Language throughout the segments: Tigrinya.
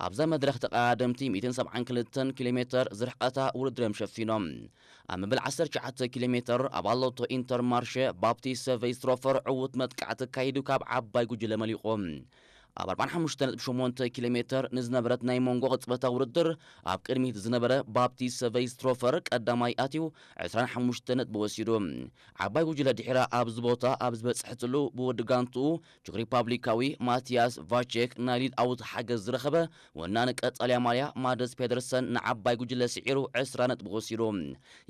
ኣብዛ መድረኽ ተቐዳደምቲ ሚእትን ሰብዓን ክልተን ኪሎ ሜተር ዝርሕቐታ ውድድር እዮም ሸፊኖም። ኣብ መበል ዓሰርተ ትሽዓተ ኪሎ ሜተር ኣባል ሎቶ ኢንተርማርሸ ባፕቲስት ቬይስትሮፈር ዕዉት መጥቃዕቲ ኣካይዱ ካብ ዓባይ ጉጅለ መሊቑ። ኣብ ኣርባዓን ሓሙሽተ ነጥቢ ሸሞንተ ኪሎ ሜተር ንዝነበረት ናይ መንጎ ቅጽበታዊ ውድድር ኣብ ቅድሚት ዝነበረ ባፕቲስት ቬይስትሮፈር ቀዳማይ ኣትዩ ዕስራን ሓሙሽተ ነጥቢ ወሲዱ። ዓባይ ጉጅለ ድሒራ ኣብዚ ቦታ ኣብ ዝበጽሐትሉ ብወዲ ጋንትኡ ቹክ ሪፓብሊካዊ ማቲያስ ቫቼክ ናይ ሊድ ኣውት ሓገዝ ዝረኸበ ወናኒ ቀጠልያ ማልያ ማደስ ፔደርሰን ንዓባይ ጉጅለ ስዒሩ ዕስራ ነጥቢ ወሲዱ።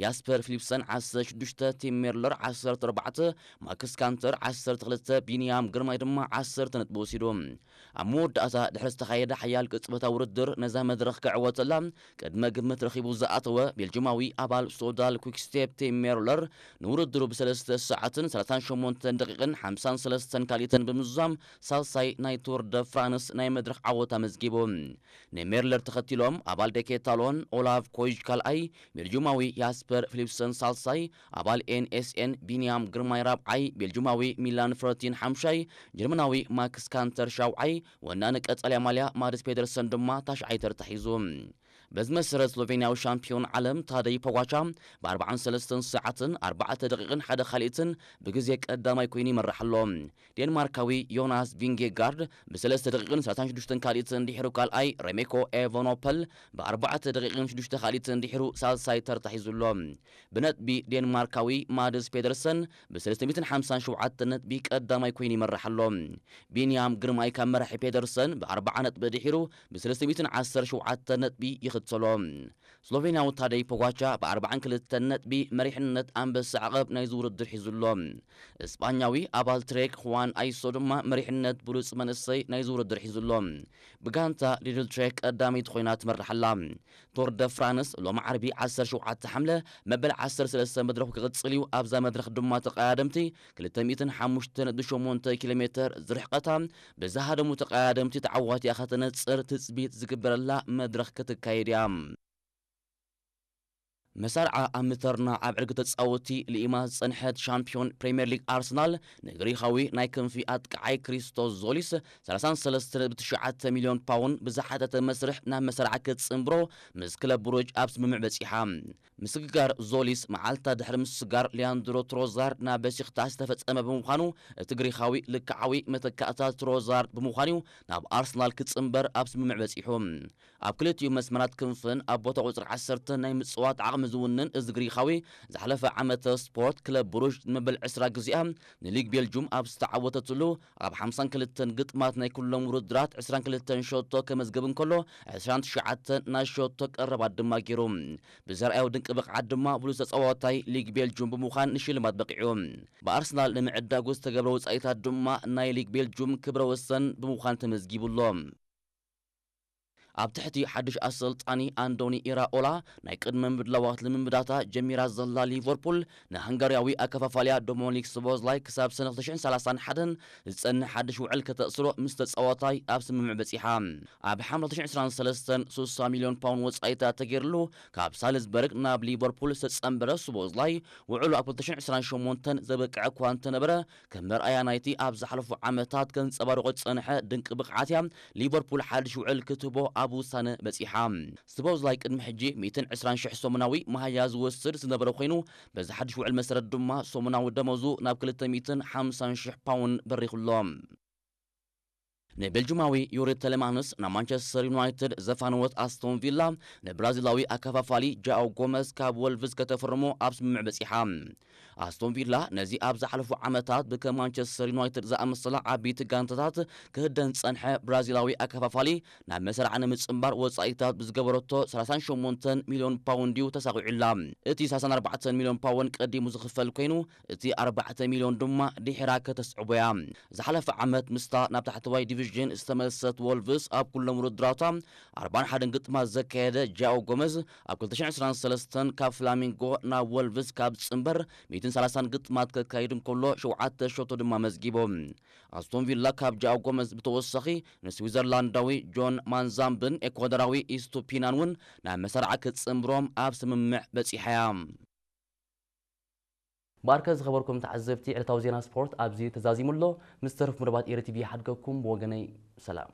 ያስፐር ፊሊፕሰን ዓሰርተ ሽዱሽተ፣ ቲም ሜርለር ዓሰርተ ኣርባዕተ፣ ማክስ ካንተር ዓሰርተ ክልተ፣ ቢንያም ግርማይ ድማ ዓሰርተ ነጥቢ ወሲዱ። ኣብ መወዳእታ ድሕሪ ዝተኻየደ ሓያል ቅጽበታዊ ውድድር ነዛ መድረኽ ክዕወተላ ቅድመ ግምት ረኺቡ ዝኣተወ ቤልጅማዊ ኣባል ሶዳል ኩክስቴፕ ቲም ሜርለር ንውድድሩ ብሰለስተ ሰዓትን ሰላሳን ሸሞንተን ደቂቕን ሓምሳን ሰለስተን ካልኢትን ብምዝዛም ሳልሳይ ናይ ቱር ደ ፍራንስ ናይ መድረኽ ዓወት ኣመዝጊቡ። ንሜርለር ተኸቲሎም ኣባል ደኬታሎን ኦላቭ ኮይጅ ካልኣይ፣ ቤልጅማዊ ያስፐር ፊሊፕሰን ሳልሳይ፣ ኣባል ኤንኤስኤን ቢንያም ግርማይ ራብዓይ፣ ቤልጅማዊ ሚላን ፍረቲን ሓምሻይ፣ ጀርመናዊ ማክስ ካንተር ሻውዓይ፣ ወናኒ ቀጠልያ ማልያ ማድስ ፔደርሰን ድማ ታሽዓይ ተርታ ሒዙ። በዚ መሰረት ስሎቬንያዊ ሻምፒዮን ዓለም ታደይ ፖጋቻ ብ ኣርባዓን ሰለስተን ሰዓትን ኣርባዕተ ደቂቕን ሓደ ካልኢትን ብግዜ ቀዳማይ ኮይኑ ይመርሕ ኣሎ። ዴንማርካዊ ዮናስ ቪንጌጋርድ ብ ሰለስተ ደቂቕን ሰላሳን ሽዱሽተን ካልኢትን ድሒሩ ካልኣይ፣ ሬሜኮ ኤቨኖፐል ብ ኣርባዕተ ደቂቕን ሽዱሽተ ካልኢትን ድሒሩ ሳልሳይ ተርታ ሒዙ ኣሎ። ብነጥቢ ዴንማርካዊ ማድስ ፔደርሰን ብ ሰለስተ ሚእትን ሓምሳን ሸውዓተን ነጥቢ ቀዳማይ ኮይኑ ይመርሕ ኣሎ። ቢንያም ግርማይ ካብ መራሒ ፔደርሰን ብ ኣርባዓ ነጥቢ ድሒሩ ብ ሰለስተ ሚእትን ዓሰርተ ሸውዓተን ነጥቢ ይኽተሎ። ስሎቬንያዊ ታደይ ፖጋቻ ብ ኣርባዓን ክልተን ነጥቢ መሪሕነት ኣንበሳ ዓቐብ ናይዚ ውድድር ሒዙ ኣሎ። እስጳኛዊ ኣባል ትሬክ ሁዋን ኣይሶ ድማ መሪሕነት ብሉጽ መንእሰይ ናይዚ ውድድር ሒዙ ኣሎ። ብጋንታ ሊድል ትሬክ ቀዳመይቲ ኮይና ትመርሕ ኣላ። ቶር ደ ፍራንስ ሎሚ ዓርቢ ዓሰርተ ሸውዓተ ሓምለ መበል ዓሰርተ ሰለስተ መድረኹ ክቕጽል እዩ። ኣብዛ መድረኽ ድማ ተቐዳደምቲ ክልተ ሚእትን ሓሙሽተ ነጥቢ ሸሞንተ ኪሎ ሜተር ዝርሕቐታ ብዝሃደሙ ተቐዳደምቲ ተዓዋቲኣ ከተነጽር ትጽቢት ዝግበረላ መድረኽ ክትካየድ እያ። መሳርዓ ኣብ ምተርና ኣብ ዕርጊ ተጻወቲ ልኢማ ዝጸንሐት ሻምፒዮን ፕሪምየር ሊግ ኣርሰናል ንግሪኻዊ ናይ ክንፊ ኣጥቃዓይ ክሪስቶስ ዞሊስ ሰላሳን ሰለስተ ነጥቢ ትሽዓተ ሚልዮን ፓውንድ ብዝሓተተ መስርሕ ናብ መሳርዓ ክትጽንብሮ ምስ ክለብ ብሩጅ ኣብ ስምምዕ በጺሓ። ምስግጋር ዞሊስ መዓልታ ድሕሪ ምስጋር ሊያንድሮ ትሮዛርድ ናብ በሲክታስ ዝተፈጸመ ብምዃኑ እቲ ግሪኻዊ ልክዓዊ መተካእታ ትሮዛርድ ብምዃኑ ናብ ኣርሰናል ክጽንበር ኣብ ስምምዕ በጺሑ። ኣብ ክልቲኡ መስመራት ክንፍን ኣብ ቦታ ቁጽሪ ዓሰርተ ናይ ምጽዋት ዓቕሚ ዝውንን እዚ ግሪኻዊ ዝሓለፈ ዓመተ ስፖርት ክለብ ብሩጅ ንመበል ዕስራ ግዜኣ ንሊግ ቤልጁም ኣብ ዝተዓወተትሉ ኣብ ሓምሳን ክልተን ግጥማት ናይ ኩሎም ውድድራት ዕስራን ክልተን ሸቶ ከመዝግብ እንከሎ ዕስራን ትሽዓተን ናይ ሸቶ ቀረባት ድማ ገይሩ። ብዘርኣዮ ድንቂ ብቕዓት ድማ ብሉጽ ተጻዋታይ ሊግ ቤልጁም ብምዃን ንሽልማት በቒዑ። ብኣርሰናል ንምዕዳጉ ዝተገብረ ወጻኢታት ድማ ናይ ሊግ ቤልጁም ክብረ ወሰን ብምዃን ተመዝጊቡ ኣሎ። ኣብ ትሕቲ ሓድሽ ኣሰልጣኒ ኣንዶኒ ኢራኦላ ናይ ቅድመ ምድላዋት ልምምዳታ ጀሚራ ዘላ ሊቨርፑል ንሃንጋርያዊ ኣከፋፋልያ ዶሞኒክ ስቦዝላይ ክሳብ ሰነ ክልተ ሽሕን ሰላሳን ሓደን ዝጸንሕ ሓድሽ ውዕል ከተእስሮ ምስ ተጻዋታይ ኣብ ስምምዕ በጺሓ። ኣብ ሓምለ ክልተ ሽሕን ዕስራን ሰለስተን ስሳ ሚልዮን ፓውንድ ወጻኢታት ተገይርሉ ካብ ሳልዝበርግ ናብ ሊቨርፑል ዝተጸንበረ ስቦዝላይ ውዕሉ ኣብ ክልተ ሽሕን ዕስራን ሸሞንተን ዘበቅዐ እኳ እንተነበረ ከም መርኣያ ናይቲ ኣብ ዝሓለፉ ዓመታት ከንጸባርቖ ዝጸንሐ ድንቂ ብቕዓት እያ ሊቨርፑል ሓድሽ ውዕል ክትህቦ ኣብ ውሳነ በጺሓ። ስቦዝላይ ቅድሚ ሕጂ ሚእትን ዕስራን ሽሕ ሰሙናዊ መሃያ ዝወስድ ዝነበረ ኮይኑ በዚ ሓድሽ ውዕል መሰረት ድማ ሰሙናዊ ደመዙ ናብ ክልተ ሚእትን ሓምሳን ሽሕ ፓውንድ በሪኹ ኣሎ። ንቤልጅማዊ ዩሪ ተለማንስ ናብ ማንቸስተር ዩናይትድ ዘፋነወት ኣስቶን ቪላ ንብራዚላዊ ኣከፋፋሊ ጃኦ ጎመዝ ካብ ወልቭስ ከተፍርሞ ኣብ ስምምዕ በጺሓ። ኣስቶን ቪላ ነዚ ኣብ ዝሓለፉ ዓመታት ብከም ማንቸስተር ዩናይትድ ዝኣመሰላ ዓበይቲ ጋንታታት ክህደን ዝጸንሐ ብራዚላዊ ኣከፋፋሊ ናብ መሰርዓ ንምጽንባር ወጻኢታት ብዝገበረቶ ሰላሳን ሸሞንተን ሚልዮን ፓውንድ እዩ ተሳቒዑላ። እቲ ሰላሳን ኣርባዕተን ሚልዮን ፓውንድ ቀዲሙ ዝኽፈል ኮይኑ እቲ ኣርባዕተ ሚልዮን ድማ ድሒራ ከተስዕቦ እያ። ዝሓለፈ ዓመት ምስታ ናብ ታሕተዋይ ዲቪዥን ዝተመልሰት ወልቭስ ኣብ ኩሎም ውድድራታ ኣርባን ሓደን ግጥማት ዘካየደ ጃኦ ጎመዝ ኣብ ክልተ ሽሕን ዕስራን ሰለስተን ካብ ፍላሚንጎ ናብ ወልቭስ ካብ ዝጽንበር ሚእትን ሰላሳን ግጥማት ከካይድ እንከሎ ሸውዓተ ሸቶ ድማ መዝጊቡ። ኣስቶን ቪላ ካብ ጃኦ ጎመዝ ብተወሳኺ ንስዊዘርላንዳዊ ጆን ማንዛምብን ኤኳዶራዊ ኢስቱፒናን እውን ናብ መሰርዓ ክትጽንብሮም ኣብ ስምምዕ በጺሓ እያ። ባርከ ዝኸበርኩም ተዓዘብቲ ዕለታዊ ዜና ስፖርት ኣብዚ ተዛዚሙ ኣሎ። ምስ ተረፉ መደባት ኤሪ ቲቪ ይሓድገኩም። ብወገነይ ሰላም።